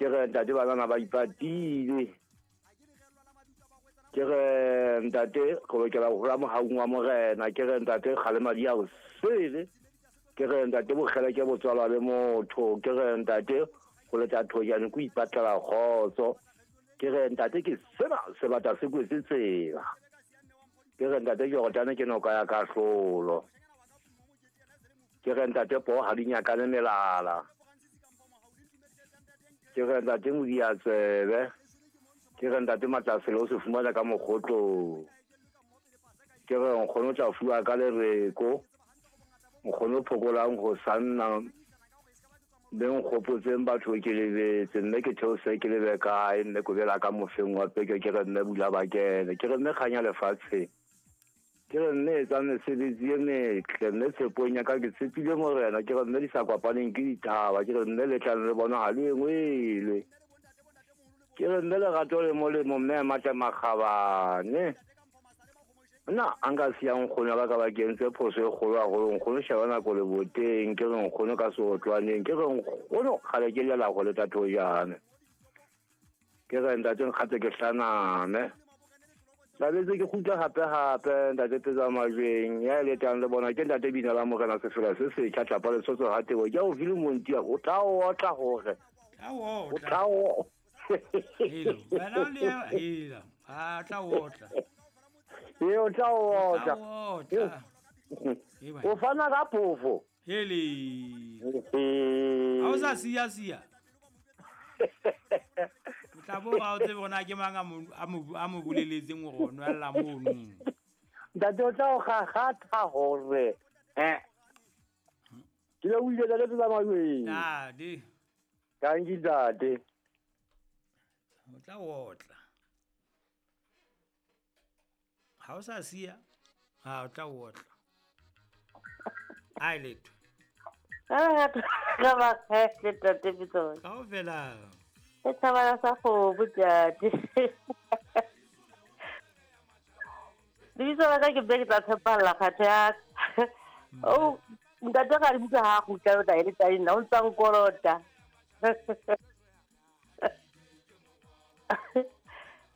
Ke re ntate banana ba ipatile. Ke re ntate go lokela go hola mohaung wa morena. Ke re ntate kgalema di a o sele. Ke re ntate bokgele ke botswalwa le motho. Ke re ntate go leta thojane ko ipatlela kgotso. Ke re ntate ke sena sebata se kwetse tsela. Ke re ntate Jordane ke noka ya kahlolo. Ke re ntate poo ha di nyakane melala. Ke re ntate modiatsebe. Ke re ntate matlasele o se fumana ka mokgotlong. Ke re nkgono o tla fuwa ka lereko. Nkgono phokolang go sanna mme nkgopotseng batho ke lebetse mme ke theose ke lebe kae mme kobela ka mofeng wa peke. Ke re mme bula bakene. Ke re mme kganya lefatsheng. Ke re mme etsa mesebetsi e metle mme tshepong ya ka ke tshepile morena. Ke re mme di sa kopaneng ke dithaba. Ke re mme le tlang le bona ha le engwelwe. Ke re mme lerato le molemo mme a matla makgabane. Nna a nka siya nkgono ba ka ba kentse phoso e kgolo haholo. Nkgono sheba nako le boteng. Ke re nkgono ka seotlwaneng. Ke re nkgono kgale ke lela go le tathojane. Ke re ntate nkgatse ke hlaname. Tlabetse ke kgutla hape hape ntate Petsa Majweng ya letang le bona ke ntate bina la morena sefela se setjha tlapa lesotho ha tebo. Ke o file montia o tla otla hore. O tla o. Helo, wena le hela. A tla otla. E o tla otla. O fana ka phofo. Hele. Ha o sa siya siya. O tla bo ga o tsebe gona ke mang a mo boleletseng gore o nwella mono. Ntate o tla o gagatha gore. Ke le o ile le tsa Majweng. Ntate. Thank you ntate. O tla otla. Ha o sa siya, ha o tla otla. Ai letho. Ka ba kgetle tate Pitso. Kaofela. E thabana sa go botjate. Lebitso la ka ke be ke tla tshepalla kgathe ya. Oh, ntate ga re butsa ha go tla o ele tsa nna o ntsa nkolota.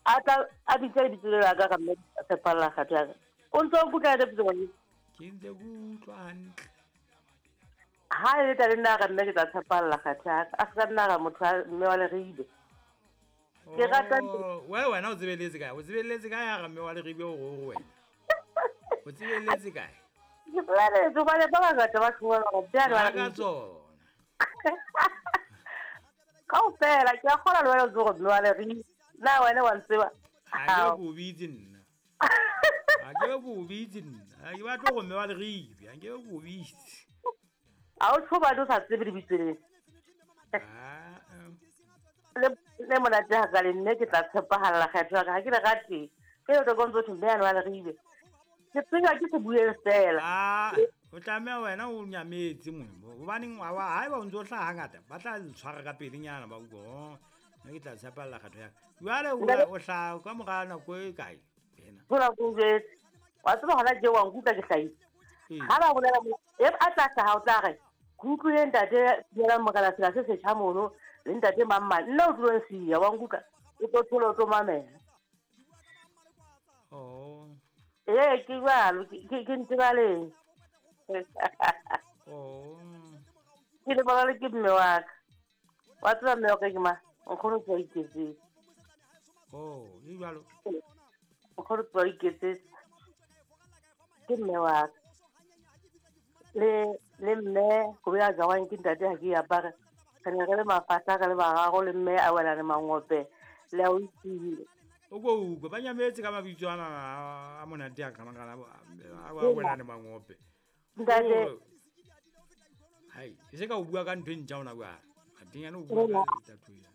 A tla a bitsa lebitso la ka ga mme tshepalla kgathe ya. O ntse o kutlwa le Pitso. Ke ntse ke utlwa hantle. Ha e le tla nna ga nna ke tla tshepalla kgathe ya ka. A se ka nna ga motho mme wa leribe. Ke rata we wena o tsebeletse kae? O tsebeletse kae ya ga mme wa leribe o go wena? O tsebeletse kae? Ke tsebeletse hobane ba bangata ba tshwana go bjalo ba ka tsona. Kaofela ke a kgola le wena o tsebe gore mme wa leribe. Na wena wa ntseba? Ha ke o bitse nna. Ha ke o bitse nna. Ha ke batle go mme wa leribe. Ha ke o bitse. A o tshoba o sa tsebe lebitso le. Le monate ha ka le nne ke tla tshepahalla kgetho ya ka ha ke le rate. Ke o tlo kontso thwe mme wa leribe. Ke tsenya ke se bueng fela. O tlameha wena o nyametse mono. Hobaneng ha eba o ntso hlaha hangata ba tla tshwara ka pelenyana ba utlwa. Nna ke tla tshepahalla kgetho ya ka. Jwale o hlaha ka mora nako e kae wena? Hola ko jwetse. Wa tseba hona je wa nkutlwa ke hlahile. Ha ba bolela e a tla hlaha o tla re ke utlwile ntate dumelang morena sela se setjha mono le ntate mang nna o tlilong siya wa nkutlwa o tlo thola o tlo mamela. Oh. Ee ke jwalo ke ntebaleng. Oh. Ke lebala le ke mme wa ka. Wa tseba mme wa ka ke mang? Nkgono ke a iketsetse. Oh, e jwalo. Nkgono ke a iketsetse. Ke mme wa ka. Le mme go ya jawang ke ntate ha ke apare. Re ne re le mafahla re le bararo le mme a wela le mangope le a o itsile. O go utlwe ba nyametse ka mabitso ana a monate a kana a wela le mangope. Ntate hai e se ka o bua ka ntho e ntjha ona bua. Atenyane o bua ka ditatu ya.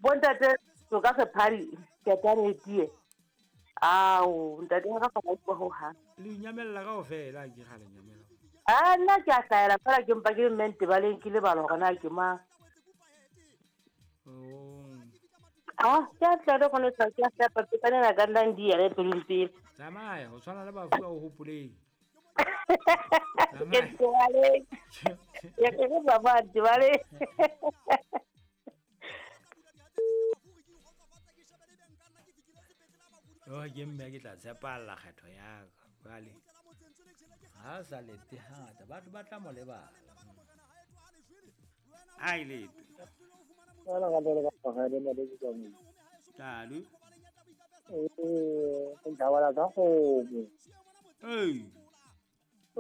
Bontate so ka sephari ke tane tie. Ao ntate ga fa go ho ha. Le nyamella kaofela ke ga le nyamella. A nna ke a hlaela fela ke mpa ke le mme ntebaleng ke lebala hore na ke mang. Oh. Ah, ke a tla go ne tsa ke a hlapa ke tsena ka nna ndi ya le pelong pele. Tsamaya, o tshwana le bafu a o hopoleng. Ke ntebaleng. Ya ke ba ba ntebaleng. ke mme ke tla tshepalla kgetho ya ka. Jwale ha sa lete hangata batho ba tla mo lebala. Ha e lete. Talo. Ee. O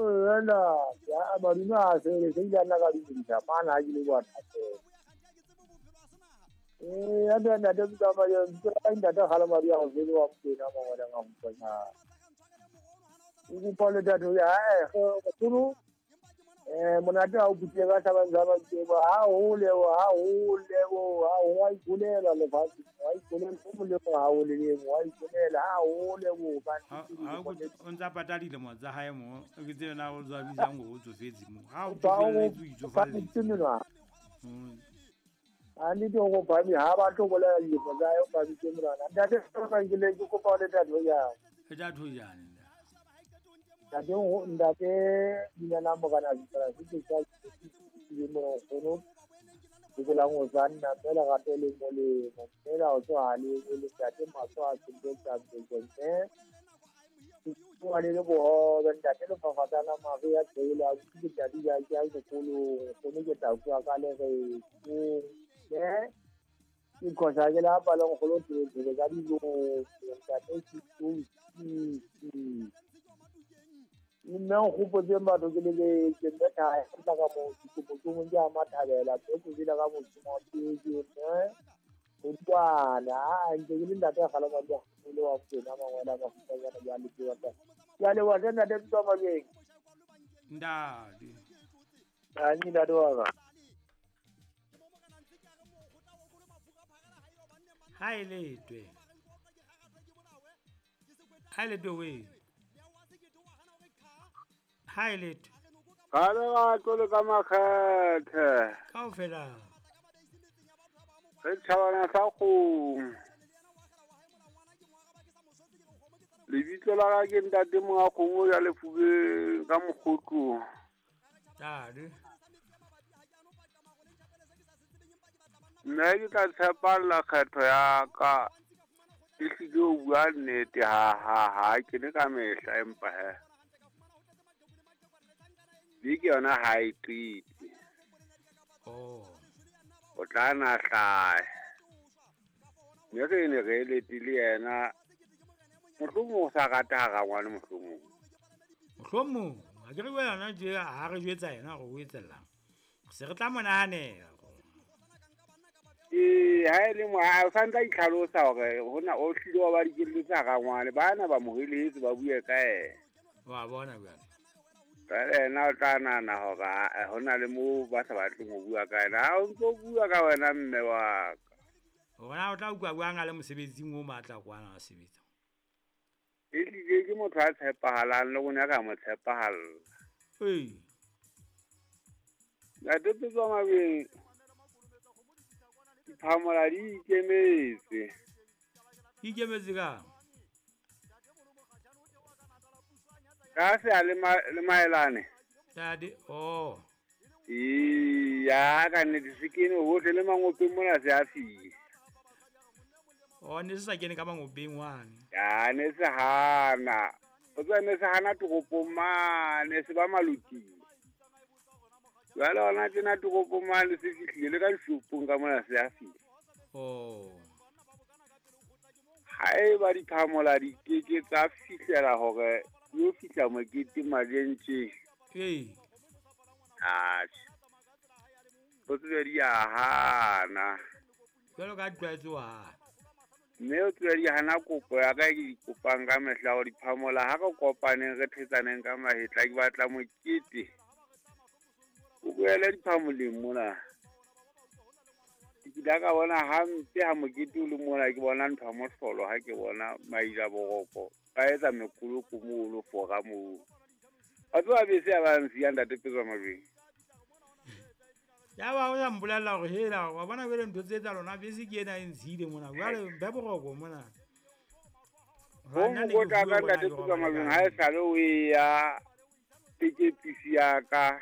ntsa patala dilemo tsa hae mo ke tsena o tswa bitsang o tsofetse mo ha o tsofetse o itsofalletse. A ne ke go ba mi ha ba tlo bolela dilemo tsa hae o ba bitse monwana. Ntate ka ke le ke kopa le tatho ya. E tatho jane. Ntate ntate dinana mogana tsara se ke sa ke mo gono ke la go tsanna fela gape le mo le fela o tswa le le ntate maso a tsentse tsa tsentse go le le bo ntate le fa fatana mare ya tsela ke ntate ya ke a sekolo gono ke tla bua ka le re ke ke khosa ke la palong go lo tsetse ka dilo ntate ke nna o gopotse batho ke le ke nna ka tla ka mo ke mo ja mathabela ke go dira ka mo mo ke ke o tswana a ntse ke le ntate ga la ba le wa tsena mangwana ba go tsena ya le ke wa ya le wa tsena ntate tswa mabeng ndadi a ni ndadi wa ka ha ile twe we ha ile twe ka le ga tlo ka makgethe kaofela re tšhabana sa kgomo lebitso la ka ke ntate monga kgomo ya lefubeng ka mokgotlo tadi nna ke tla tshepalla kgetho ya ka e hlile o bua nnete ha ke ne ka mehla empa he beke yona ha e qete. O tla na hlahe mme re ne re letile yena mohlomong o sa rata ha rangwane mohlomong ha ke re wena je ha re jwetsa yena hore o etsellang se re tla mo nahanela. Ee ha e le mo ha o sa ntla itlhalosa hore hona o hlile wa ba dikeletso tsa rangwane bana ba mo heletse ba bue ka yena wa bona jwale. Jwale yena o tla nahana hore hona le moo ba sa batleng ho bua ka yena. Ha o ntso bua ka wena mme wa ka. Hore o tla utlwa buang a le mosebetsing o matla kwana a sebetsa. Ehlile ke motho a tshepahalang le rona re a mo tshepahalla. Ee. Ntate Petswa Mabeng, diphamola di ikemetse. Ikemetse kang? Ka se a le maelane. Tadi oh. Iya ka nnete se kene hohle le mangopeng mona se a fihle. Oh ne se sa kene ka mangopeng wane. Ya ne se hana. O tswa ne se hana toropong mane se ba maluting. Jwale hona tjena toropong mane se fihlile le ka dishopong ka mona se a fihle. Oh. Haeba diphamola di keke tsa fihlela hore yo fihla mokete majentse. Ee. Atjhe. O tsebe di a hana. Jwalo ka tlwaetse wa hana. Mme o tsebe di hana kopo ya ka e ke di kopang ka mehla hore diphamola ha re kopaneng re thetsaneng ka mahetla ke batla mokete. O boele diphamoleng mona. Ke kile ka bona hampe ha mokete o le mona ke bona ntho ya mohlolo ha ke bona maila boroko. Ba etsa mekoloko moo fora moo. Wa tseba bese ya ba nsiya ntate Petswa Mabeng. Ya ba o ya mpolella hore hela wa bona jwale ntho tse tsa lona bese ke ena e ntshile mona. Jwale be boroko mona. Ho mokotla ka ntate Petswa Mabeng ha e sale o ya tekepisi ya ka.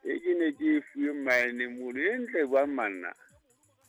E ke ne ke e fuwe mmaene mono e ntle jwang manna.